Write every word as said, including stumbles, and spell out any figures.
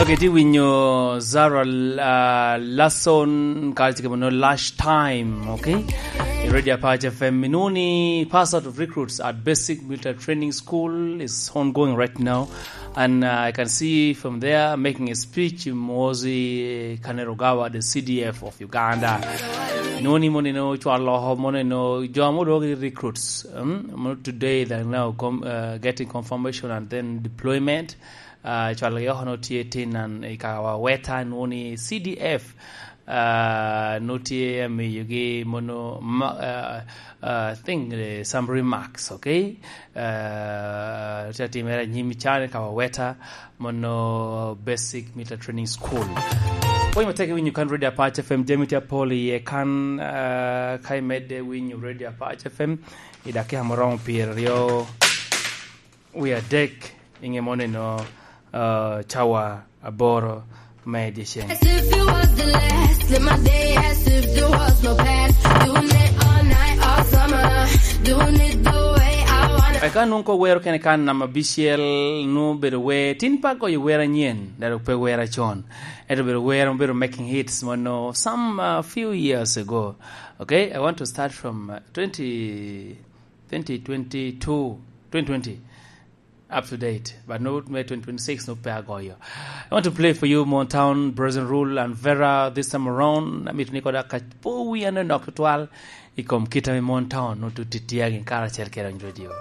Keti winyo Zara, uh, Lason, kacike mono Lash Time, okay? I Radio Apache F M, inuni pass out of recruits at Basic Military Training School is ongoing right now. And, uh, I can see from there making a speech, Muhoozi Kainerugaba, the C D F of Uganda. Inuni mono ino cwalo, mono ino jo mono dogi recruits, um, mono today they're now com-, uh, getting confirmation and then deployment. Ah, cwalogi oko nwoŋo tye tin nan i Kawaweta, nwoŋo ni C D F, ah, nwoŋo tye amiyogi mono ma-, ah, ah, thing, eh, some remarks, okay? Ah, tye atimere anyim i can i Kawaweta, mono Basic Military Training School. Pwony matek i winyo kan Radio Apache F M, jami tye apol iye kan, ah, ka imedde winyo Radio Apache F M, i dakika moromo pyeraryo wie adek, i ŋe mono ino, uh, cawa aboro me dyeceng. As if it was the last, live my day as if there was no past. Doing it all night, all summer. Doing it the way I wanna. Eka nwoŋo ko wero kene kan namba abicel, nwoŋo bedo wer, tin pe agoyo wer anyen, dok pe wer acon. Ento bedo wer, bedo making hits mono some, uh, few years ago. Okay, I want to start from, uh, twenty, twenty twenty-two, twenty twenty, up to date, but no, me twenty twenty-six no pe agoyo. I want to play for you Mon Town, Brazen Rule and Vera this time around. Amito ni koda ka po wi ane nok tutwal i kom kit ame Mon Town no tut titiagi karacel kede Onyo Radio.